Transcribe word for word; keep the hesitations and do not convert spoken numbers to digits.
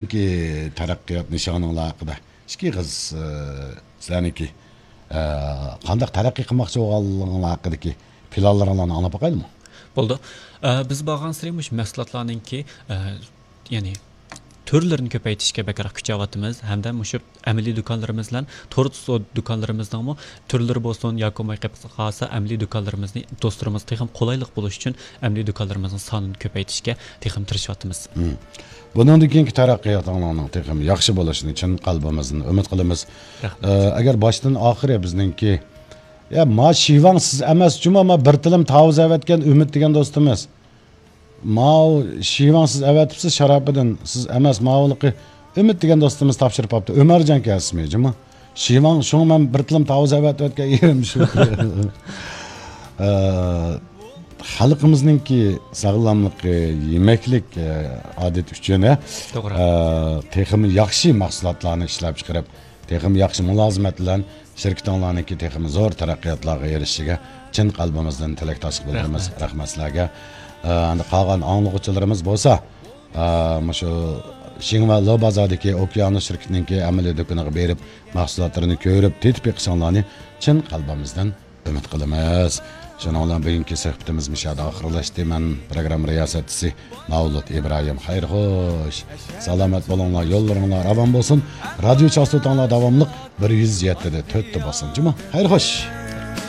تەرەققىيات نىشانىڭلار ھەققىدە ئىككى ئېغىز، ئە، سىلەرنىڭكى، ئە، قانداق تەرەققىي قىلماقچى بولغانلىقىڭلار ھەققىدىكى پىلانلىرىڭلارنى ئاڭلاپ باقايلىمۇ؟ بولىدۇ. ئە، بىز بارغانسېرى مۇشۇ مەھسۇلاتلارنىڭكى، ئە، يەنى تۈرلىرىنى كۆپەيتىشكە بەكرەك كۈچەۋاتىمىز ھەمدە مۇشۇ ئەمەلىي دۇكانلىرىمىز بىلەن تور سودا دۇكانلىرىمىزنىڭمۇ تۈرلىرى بولسۇن ياكى بولماي قېلىپ قالسا ئەمەلىي دۇكانلىرىمىزنى دوستلىرىمىزغا تېخىمۇ قولايلىق بولۇش ئۈچۈن ئەمەلىي دۇكانلىرىمىزنىڭ سانىنى كۆپەيتىشكە تېخىمۇ تىرىشىۋاتىمىز. مم. بۇنىڭدىن كېيىنكى تەرەققىياتىڭلارنىڭ تېخىمۇ ياخشى بولۇشىنى چىن قەلبىمىزدىن ئۈمىد قىلىمىز. رەھمەت. ئە، ئەگەر باشتىن ئاخىرى بىزنىڭكى، يا، ما شىۋاڭ سىز ئەمەس جۇما، ما بىر تىلىم تاۋۇز ئەۋەتكەن ئۈمىد دېگەن دوستىمىز. ماۋۇ شىۋاڭ سىز ئەۋەتىپسىز، شاراپىدىن سىز ئەمەس، ماۋۇلۇقى ئۈمىد دېگەن دوستىمىز تاپشۇرۇپ قاپتۇ. ئۆمەرجان كەسمى جۇما. شىۋاڭ، شۇڭا مەن بىر تىلىم تاۋۇز ئەۋەتىۋەتكەن يېرىم شۇ. ئە، خەلقىمىزنىڭكى ساغلاملىقى، يېمەكلىك، ئە، ئادىتى ئۈچۈن، ئە، توغرا. ئە، تېخىمۇ ياخشى مەھسۇلاتلارنى ئىشلەپ چىقىرىپ، تېخىمۇ ياخشى مۇلازىمەت بىلەن شىركىتىڭلارنىڭكى تېخىمۇ زور تەرەققىياتلارغا ئېرىشىشىگە چىن قەلبىمىزدىن تىلەكداشلىق بىلدۈرىمىز. رەھمەت. رەھمەت سىلەرگە. ئە، ئەمدى قالغان ئاڭلىغۇچىلىرىمىز بولسا، ئە، مۇشۇ شىڭۋە لو بازاردىكى ئوكيانوس شىركىتىنىڭكى ئەمەلىي دۇكىنىغا بېرىپ، مەھسۇلاتلىرىنى كۆرۈپ، تېتىپ بېقىشىڭلارنى چىن قەلبىمىزدىن ئۈمىد قىلىمىز. شۇنىڭ بىلەن بۈگۈنكى سۆھبىتىمىز مۇشۇ يەردە ئاخىرلاشتى. مەن پروگرامما رىياسەتچىسى مەۋلۇت ئىبراھىم. خەير خوش. سالامەت بولۇڭلار، يوللىرىڭلار راۋان بولسۇن. رادىيو چاستوتاڭلار داۋاملىق بىر يۈز يەتتە دە تۆتتە بولسۇن. جۇما. خەير خوش.